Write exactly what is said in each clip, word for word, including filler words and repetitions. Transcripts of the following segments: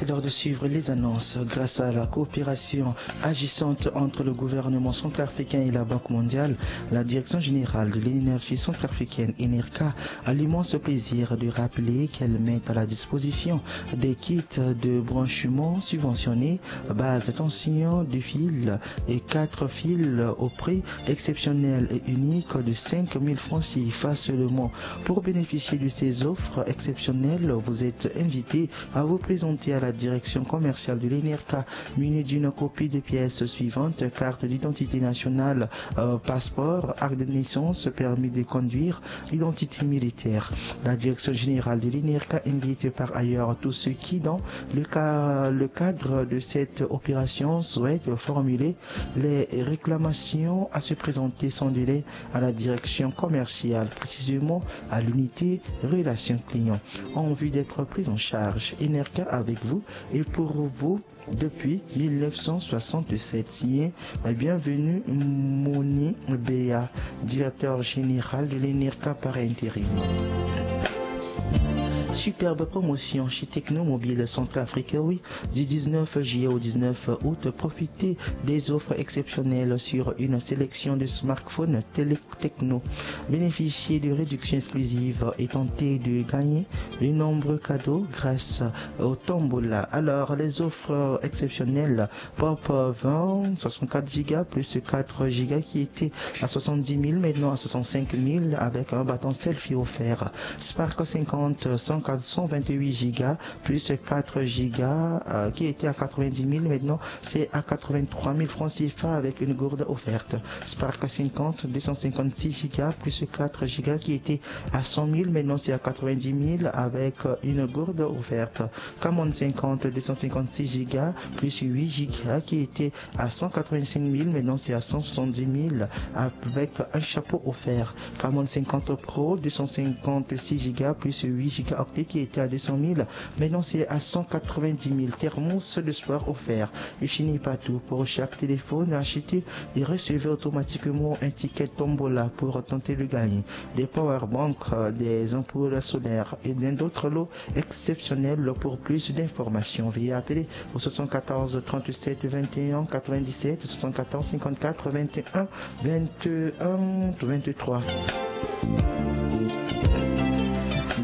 L'heure de suivre les annonces. Grâce à la coopération agissante entre le gouvernement centrafricain et la Banque mondiale, la Direction générale de l'énergie centrafricaine, ENERCA, a l'immense plaisir de rappeler qu'elle met à la disposition des kits de branchement subventionnés, base tension, deux fils et quatre fils au prix exceptionnel et unique de cinq mille francs CFA seulement. Pour bénéficier de ces offres exceptionnelles, vous êtes invité à vous présenter à la direction commerciale de l'ENERCA, muni d'une copie de pièces suivantes: carte d'identité nationale, euh, passeport, acte de naissance, permis de conduire, identité militaire. La direction générale de l'ENERCA invite par ailleurs tous ceux qui, dans le ca-, le cadre de cette opération, souhaitent formuler les réclamations à se présenter sans délai à la direction commerciale, précisément à l'unité relations clients, en vue d'être pris en charge. ENERCA avec vous et pour vous depuis mille neuf cent soixante-sept. Signé, euh, Bienvenu Moni Béa, directeur général de l'ENERCA par intérim. Superbe promotion chez Technomobile Centrafrique, oui. Du dix-neuf juillet au dix-neuf août, profitez des offres exceptionnelles sur une sélection de smartphones télé-, Techno. Bénéficiez de réductions exclusives et tentez de gagner de nombreux cadeaux grâce au tombola. Alors, les offres exceptionnelles: Pop vingt, soixante-quatre gigas plus quatre gigas qui était à soixante-dix mille, maintenant à soixante-cinq mille avec un battant selfie offert. Spark cinquante, cent, quatre cent vingt-huit gigas plus quatre gigas, euh, qui était à quatre-vingt-dix mille, maintenant c'est à quatre-vingt-trois mille francs CFA avec une gourde offerte. Spark cinquante, deux cent cinquante-six gigas plus quatre gigas qui était à cent mille, maintenant c'est à quatre-vingt-dix mille avec, euh, une gourde offerte. Camon cinquante, deux cent cinquante-six gigas plus huit gigas qui était à cent quatre-vingt-cinq mille, maintenant c'est à cent soixante-dix mille avec un chapeau offert. Camon cinquante Pro, deux cent cinquante-six gigas plus huit gigas octets qui était à deux cent mille, maintenant c'est à cent quatre-vingt-dix mille. Thermos de sport offert. Et fini pas tout. Pour chaque téléphone acheté, et recevez automatiquement un ticket tombola pour tenter de gagner des power banks, euh, des ampoules solaires et bien d'autres lots exceptionnels. Pour plus d'informations, veuillez appeler au soixante-quatorze trente-sept vingt et un quatre-vingt-dix-sept, soixante-quatorze cinquante-quatre vingt et un vingt et un vingt-trois.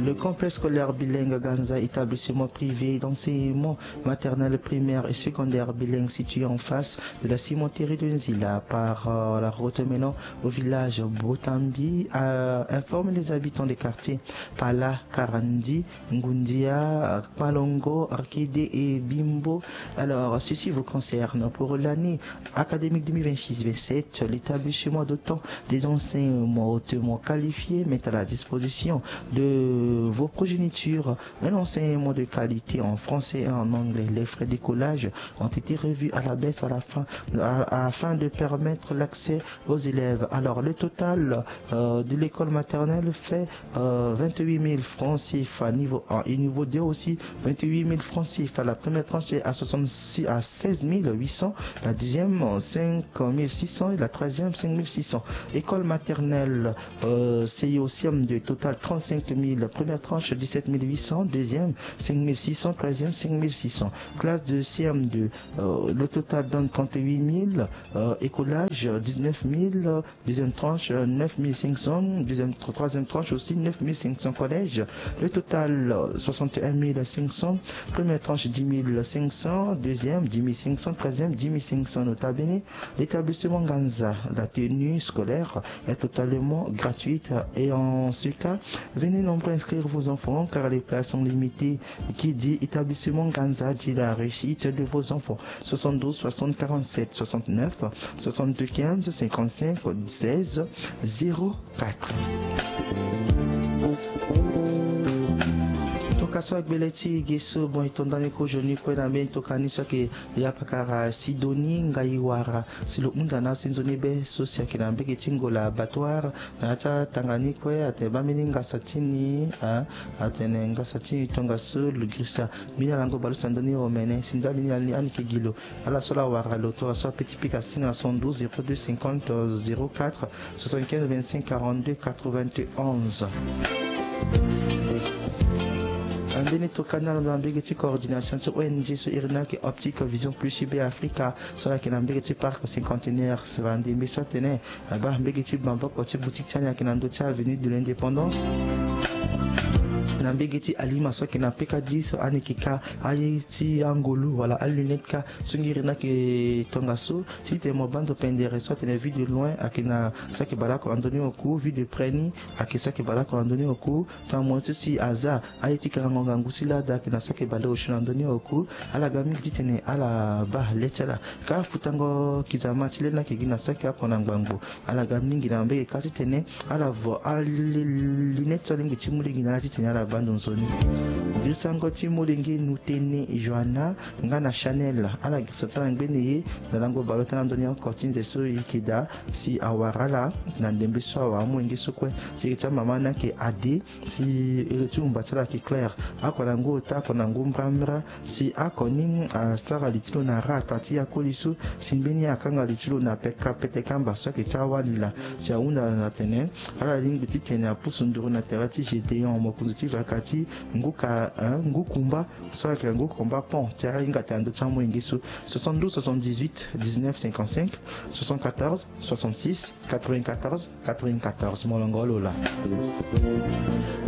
Le complexe scolaire bilingue Ganza, établissement privé d'enseignement maternel, primaire et secondaire bilingue situé en face de la cimenterie de Nzila par, euh, la route menant au village Botambi, euh, informe les habitants des quartiers Pala, Karandi, Ngundia, Kpalongo, Arkede et Bimbo. Alors, ceci vous concerne. Pour l'année académique deux mille vingt-six vingt-sept, l'établissement dotant des enseignements hautement qualifiés met à la disposition de vos progénitures un enseignement de qualité en français et en anglais. Les frais d'écolage ont été revus à la baisse à la fin, à, afin de permettre l'accès aux élèves. Alors, le total, euh, de l'école maternelle fait, euh, vingt-huit mille francs CFA niveau un et niveau deux aussi, vingt-huit mille francs CFA. La première tranche est à soixante-six, à seize mille huit cents, la deuxième, euh, cinq mille six cents et la troisième, cinq mille six cents. École maternelle, euh, C I au C M deux, total trente-cinq mille. Première tranche, dix-sept mille huit cents. Deuxième, cinq mille six cents. Troisième, cinq mille six cents. Classe de C M deux, euh, le total donne trente-huit mille. Euh, écolage, dix-neuf mille. Deuxième tranche, euh, neuf mille cinq cents. Deuxième, tro-, troisième tranche aussi, neuf mille cinq cents. Collège, le total, euh, soixante et un mille cinq cents. Première tranche, dix mille cinq cents. Deuxième, dix mille cinq cents. Troisième, dix mille cinq cents. Nota bene, l'établissement Ganza, la tenue scolaire est totalement gratuite et en ce cas, venez nombreux inscrire vos enfants car les places sont limitées. Qui dit établissement Ganza dit la réussite de vos enfants. Soixante-douze soixante quarante-sept soixante-neuf, soixante-deux quinze cinquante-cinq seize zéro quatre. Tongaso agbele ti ge so, bon, e to ndani kue ozoni kue na mbeni tokani so ayeke ya pakara Sidonie Ngaiwara. Si lo hunda na asinzo ni be so si ayeke na mbage ti Ngola Abattoir, na ya ti atanga ni kue atene baa mbeni ngasa ti ni, ah, atene ngasa ti ni tongaso lo girisa mbeni alango baleuse na ndö ni omene. Si ndali ni, ani yeke gi lo. Ala so ala wara lo tongaso ape ti pika singa na cent douze zéro deux cinquante zéro quatre soixante-quinze vingt-cinq quarante-deux quatre-vingt-onze. Tënë tokani alondo na mbege ti coordination ti O N G so iri ni ayeke Optique Vision Plus U B Africa, so ala yeke na mbege ti parc cinquantenaire. Sara ndembe so atene abaa mbege ti maboko ti boutique ti ani ayeke na ndö ti avenue de l'Indépendance, na mbege ti alima so ayeke na peka dix, ani yeke ka aye ti angolu wala alunette ka so ngiri ni ayeke tongaso. Titene mo baa ndo pendere so atene vue de loin ayeke na saki baleoko na ndö ni oku, vue de près ni ayeke saki baleoko na ndö ni oku. Tongana mo ye so si aza aye ti kangango ngangu ti lada ayeke na saki baleosio na ndö ni oku. Ala ga mingi titene ala baa le ti ala. Ka futango kizama ti le ni ayeke gi na saki oko na ngbangbo. Ala ga mingi na mbege ka titene ala vo alunette so alingbi ti mu lege na ala titene ala baa ndo nzoni. Girisango ti molenge Nutene Johanna nga na Chanel, ala girisa ti ala na ngbene ye na lango baleota na ndö ni oko ti nze so e yeke daa, si awara ala na ndembe so awara amolenge so kue. Si iri ti amama ni ayeke Ade, si iri ti umba ti ala ayeke Claire. Oko na ngu ota, oko na ngu mbrambra. Si oko ni asara li ti lo na ra ata ti akoli so, si mbeni akanga li ti lo na peka pete kamba so ayeke ti awali laa. Si ahunda na tene ala lingbi titene apusu nduru na tere ti Gédéon, mokonzi ti vaka ti ngu ka, eh, ngu kumba, so ayeke ngu kumba pont, ti ahinga tene na ndö ti amolenge so. Soixante-douze soixante-dix-huit dix-neuf cinquante-cinq, soixante-quatorze soixante-six quatre-vingt-quatorze quatre-vingt-quatorze. Molongo lo laa.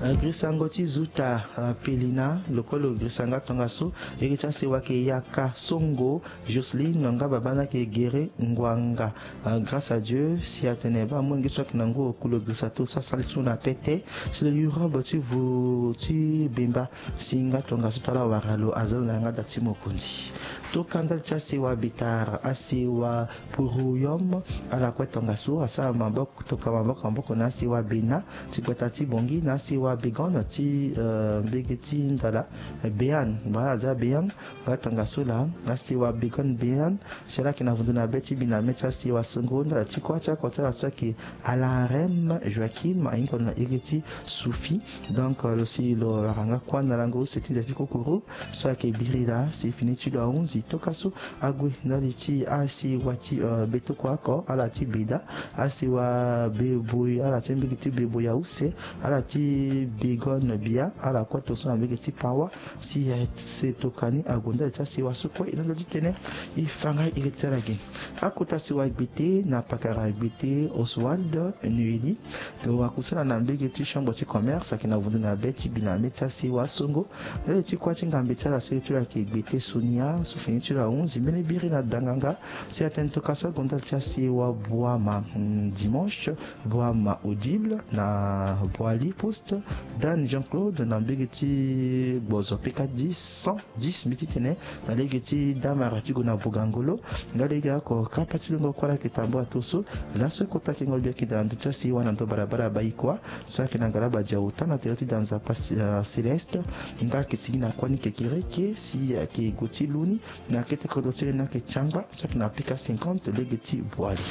Eh, girisango ti zuta, eh, Pelina, lo kue lo girisa nga tongaso. Iri ti asewa ayeke Yaka Songo, Jocelyne nga baba ni ayeke Gere Ngwanga. Ah, grâce à Dieu, si atene baa amolenge so ayeke na ngu oku lo girisa to so asara li ti lo na pete, si lo yu robe ti vo ti bemba, si nga tongaso ti ala wara lo, aza lo na yanga da ti mokonzi. Toka ndali ti asewa Betar, asewa Poroyom, ala kue tongaso asara maboko, toka maboko maboko na asewa Bena ti gbata ti Bongi, na asewa Begone ti, eh, mbege ti Ndala, eh, Bean, baa ala za Bean, nga tongaso laa, asewa Begone Bean, si ala yeke na vundo na be ti bi na me ti asewa Songo, ndali ti kuâ ti oko ti ala so ayeke Alarem Joachim, ahinga lo na iri ti Soufi. Donc, euh, lo si lo wara nga kuâ na lango use ti nze ti kokoro so ayeke biri laa, si fini ti lo ahunzi toka so ague ndali ti asewa ti, euh, Betoko oko, ala ti Beda, asewa Beboy, ala ti mbege ti Beboy ya use, ala ti Begone Bia, ala kue tongaso na mbege ti Pawa. Si, eh, se toka ni ague ndali ti asewa so kue, e na lo ti tene e fa nga iri ti ala ge. Akota sewa Gbete na pakara Gbete Oswald Noélie, lo akusala na mbege ti chambre ti commerce ayeke na vundo na be ti bi na me ti asewa Songo. Ndali ti kuâ ti ngambe ti ala so iri ti lo ayeke Gbete Sonia, so fini ti lo ahunzi mbeni biri na danganga. Si atene toka so ague ndali ti asewa Boama, mm, Dimanche, Boama Odile na Boali Poste, Dan Jean-Claude na mbege ti gbozo P K dix cent dix, mbi ti tene na lege ti damara ti gue na Bugangolo. Nga lege oko kapa ti lungo kuâ la ayeke tambula to so. Laso kota kengo bia yeke daa na ndö ti asewa na ndo balabala Baikua so ayeke na ngalaba dia ota na tere ti da nzapa, euh, Céleste. Nga ayeke sigi na kuâ ni kekereke si ayeke gue ti lu ni na kete kodro ti lo ni ayeke ti angba so ayeke na P K cinquante lege ti Boali.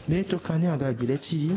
Mbeni tokani aga gbele ti e.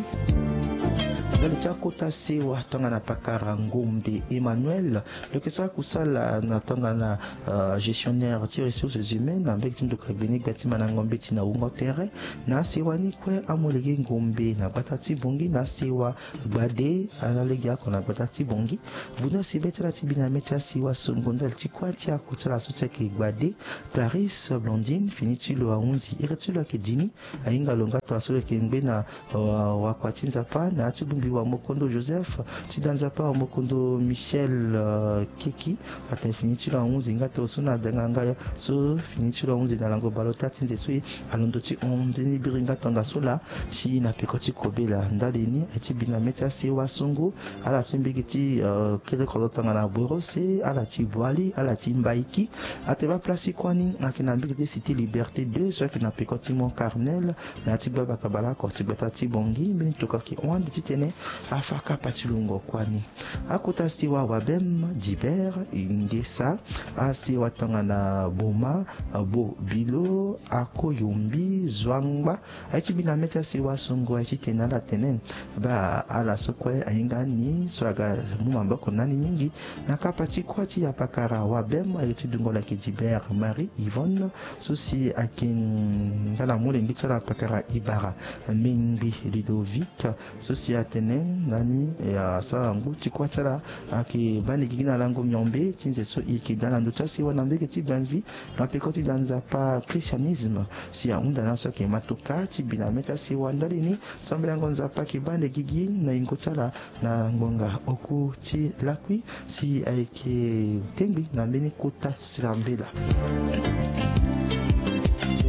Ndali ti akota sewa tongana pakara Ngombe Emmanuel, lo yeke sara kusala na tongana, euh, gestionnaire ti ressources humaines na mbege ti nduka gbeni gbia ti Manango Mbeti na wungo tere. Na asewa ni kue amolenge Ngombe na gbata ti Bongi na asewa Gbade, ala lege oko na gbata ti Bongi. Vuno asi be ti ala ti bi na me ti asewa Songo ndali ti kuâ ti oko ti ala so ti ayeke Gbade, Clarisse Blondine, fini ti lo ahunzi iri ti lo ayeke Dini. Ahinga lo nga tongaso lo yeke ngbe na, euh, wakua ti Nzapa na ya ti bongbi wamokondo Joseph, ti da Nzapa wamokondo Michel, euh, Keki. Atene fini ti lo ahunzi nga tongaso na danganga so fini ti lo ahunzi na lango baleota ti nze so e alondo ti hon ndeni biri nga tongaso laa. Si na peko ti kobela ndali ni aye ti bi na me ti asewa Songo, ala so mbege ti, euh, kete kodro tongana Borose, ala ti Boali, ala ti Mbaiki. Atene baa place ti kuâ ni ayeke na mbege ti Cité Liberté deux so ayeke na peko ti Mont Carmel, na ya ti gbabaka baleoko ti gbata ti Bongi. Mbeni tokua ayeke hon ande titene afa kapa ti lungo kuâ ni. Akota sewa Wabem, Dibert, Ingesa, asewa tongana Boma, Bo Bilo, Akoyombi, Zwangba, aye ti bi na me ti asewa Songo aye titene ala tene baa ala so kue ahinga ni so aga mu maboko na ni mingi. Na kapa ti kuâ ti apakara Wabem, aye ti dungo lo ayeke Dibert Marie Yvonne, so si ayeke nga na molenge ti ala apakara Ibara Mengbi Ludovic, so si atene Nani asara ngu ti kuâ ti ala ayeke baa ni gigi na lango miombe ti nze so e yeke daa na ndö ti asiwa na mbege ti Bellevue na peko ti da nzapa christianisme. Si ahunda na so ayeke matoka ti bi na mê ti asiwa ndali ni sambelango nzapa ayeke baa ni gigi na yingo ti ala na ngbonga oku ti lakui si ayeke tengbi na mbeni kota sirambela.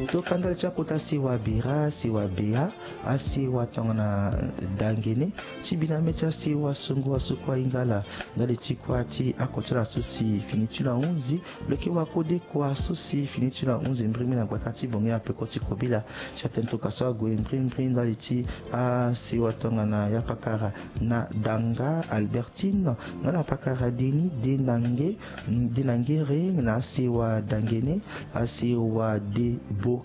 Tokandali ti akota siwa bira siwa bea asiwa tongana dangene ti bi na mê ti asiwa songo aso kue ahinga ala ndali ti kuâ ti ako ti ala so si fini ti lo ahunzi. Lo yeke wakode kua so si fini ti lo ahunzi mbirimbiri na gbata ti bongi na peko ti kobela. Si atene tokua so ague mbirimbiri ndali ti asiwa tongana ya pakara na danga albertine nga na pakara deni denange denangere na asiwa dangene asiwa debokete.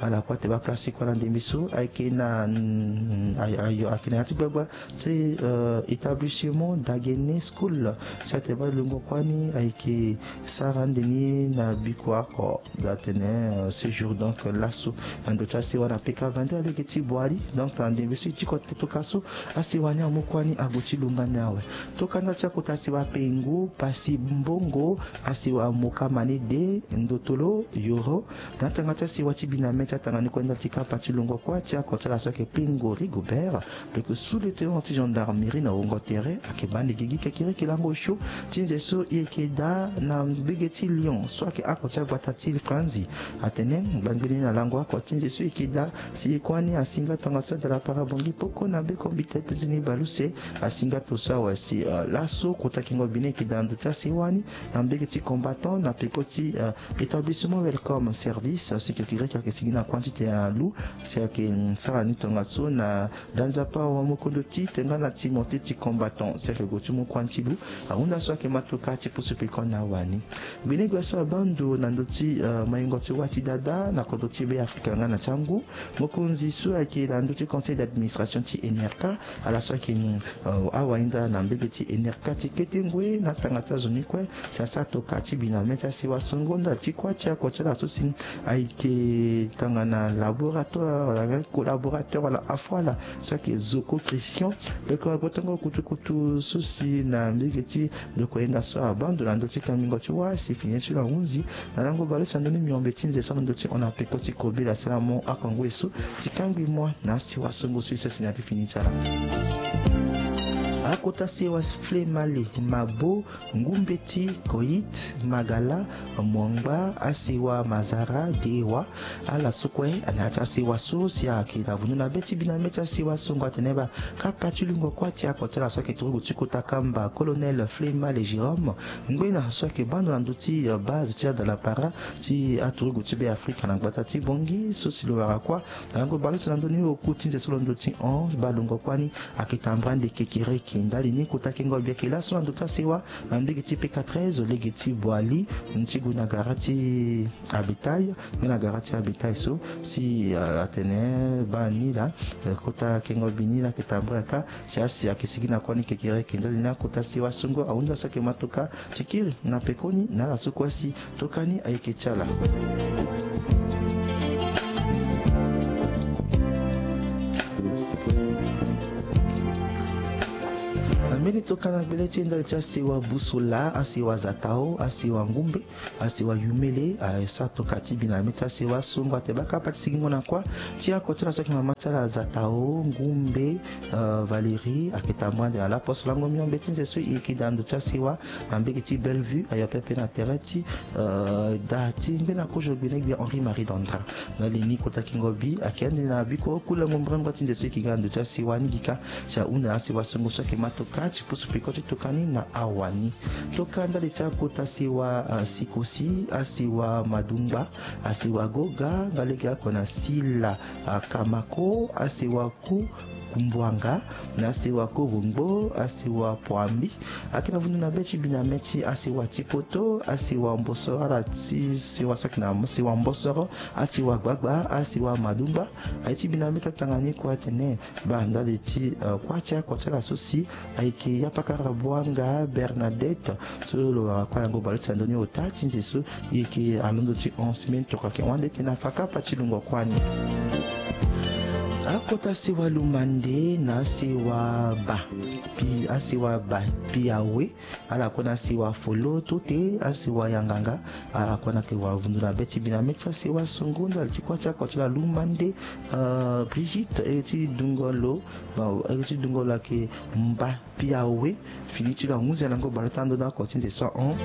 Ala kue ate baa place ti kue ala ndembe so ayeke na ayeke na ya ti gbagba ti établissement dangene school. Si ate baa lungo kue ni ayeke sara ande ni na biko ako. Atene séjour donc laso na ndo ti asiwa na peka vingt-deux alege ti boali. Donc na ndembe so e ti kote toka so asiwa ni amu kue ni ague ti lunga ni awe. Tokanda ti akota siwa pengo pasi mbongo asiwa moka mane de ndotolo yoro. Na tanga ti asiwa ti bi na mê ti atanga ni kue ndali ti kapa ti lungo kue ti ako ti ala so ayeke pengo rigobert. Donc sous le tenant ti gendarmerie na wongo tere ayeke baa ni gigi kekereke lango osio ti nze so e yeke daa na mbege ti lyon so ayeke ako ti agbata ti franzi. Atene gbangbeni na lango ako ti nze so e yeke daa si e kue ni asinga tongaso adala para bongi poko na be kombite pezeni baleuse. Asinga to so awe si laso kota kengo bi ni e yeke daa na ndo ti asiwa ni na mbege ti combattant na peko ti établissement welcome service si kekereke ayeke sigi na kua ti tene alu si ayeke sara ni tongaso na da nzapa awe mokondo ti tenga na timothée ti combattant si ayeke gue ti mu kua ti lu. Ahunda so ayeke matoka ti pusu peko na wani. Gbene gbia so abaa ndo na ndö ti maingo ti wâ ti dada na kodro ti be afrika nga na ti angu. Mokonzi so ayeke na ndö ti conseil d'administration ti enerka ala so ayeke ni awahinda na mbege ti enerka ti kete ngoi na tanga ti azo ni kue. Si asara toka ti bi na mê ti asiwa songo ndali ti kuâ ti ako ti ala so si ayeke tongana laboratoire wala collaborateur wala afo ala so ayeke zoko christian. Lo yeke wa gbotongo kutukutu so si na mbege ti lo yeke hinga so abaa ndo na ndö ti kangbingo ti wâ si fini ti lo ahunzi na lango baleuse na ndö ni miombe ti nze so na ndö ti hon na peko ti kobela si ala mu ako ngoi so ti kangbi mua na asiwa songo so e sese na ti fini ti ala. Akota sewa flemale mabo ngumbeti koyit magala mwangba asewa mazara dewa. Ala so kue na ya ti asewa so si ayeke na vundu na be ti bi na mê ti asewa so ngua atene baa kapa ti lungo kuâ ti ako ti ala so ayeke turugu ti kota kamba colonel flemale jérôme ngbena so ayeke baa ndo na ndö ti base ti adala para ti aturugu ti be afrika na gbata ti bongi so si lo wara kuâ na lango baleuse na ndö ni oku ti nze so lo ndö ti hon baa lungo kuâ ni. Ayeke tambra ande kekereke ndali ni kota kengo bi ayeke laso na ndo ti asewa na mbege ti peka treize lege ti boali ti gue na gara ti abitail. Nge na gara ti abitail so si atene baa ni laa kota kengo bi ni laa ayeke tambra ka si asi ayeke sigi na kuâ ni kekereke ndali ni akota sewa songo ahunda so ayeke matoka ti kiri na pekoni na ala so kue si toka ni ayeke ti ala. Na mbeni toka na gbele ti e ndali ti asewa busola asewa zatao asewa ngumbe asewa yumele. Asara toka ti bi na mê ti asewa so ngua ate baa kapa ti sigingo na kuâ ti ako ti ala so ayeke mama ti ala zatao ngumbe valérie ayeke tambra ande na laposo lango miombe ti nze so e yeke daa na ndo ti asewa na mbege ti bellevue ayo pepe na tere ti da ti ngbena kozo gbene gbia henri marie dandra. Na li ni kota kingo bi ayeke ande na biko kulango mbrengba ti nze so e yeke ga na ndo ti asewa ni gi ka. Si ahunda na asewa songo so ayeke ma toka ti pusu peko ti toka ni na awa ni. Toka ndali ti akota sewa sikosi asewa madungba asewa goga nga lege ako na sila kamako asewa ku kumbwanga na asewa kobongbo asewa pwambi. Ayeke na vundu na be ti bi na mê ti asewa ti poto asewa mbosoro ala ti sewa so ayeke na sewa mbosoro asewa gbagba asewa madungba. Aye ti bi na mê ti atanga ni kue atene baa ndali ti kuâ ti ako ti ala so si ayeke ya pakara bwanga bernadette so lo wara kuâ na yango baleuse na ndö ni ota ti nze so e yeke alondo ti onze mai tokua yeke wande tena fa kapa ti lungo kuâ ni. Akota sewa lumande na sewa ba pi asewa ba pi awe. Ala kue na sewa folo to te asewa yanganga. Ala kue na ke wa vundu na be ti bi na meti asewa songo ndali ti kua ti akua ti ala lumande. Brigitte e ti dungo lo e ti dungo lo ake mba pi awe. Fini ti lo ahunzi ala ngo baleota ndo na oko ti nze so ahon.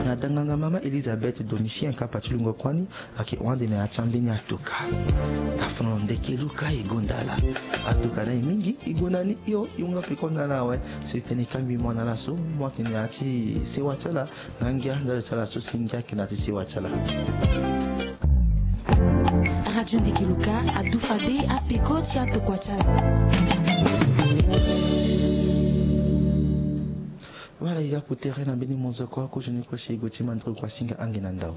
Na danganga mama Elisabeth Domitien kapa ti lungo kuani. Ake hon ande na ya ti ambeni atoka. Tafono ndeke luka e gonda ala. Atoka na e mingi e gonda ni hio. E hon nga peko na ala awe. Si tene e kangbi mo na ala so mo ayeke na ya ti sewa ti ala. Na ngia ndali ti ala so si ngia ayeke na ya ti sewa ti ala. Radio Ndeke Luka adu fade apeko ti atokua ti ala. Wala e yaku tere na mbeni mozoko akozoni kue si e gue ti mandro kua singa ange na ndao.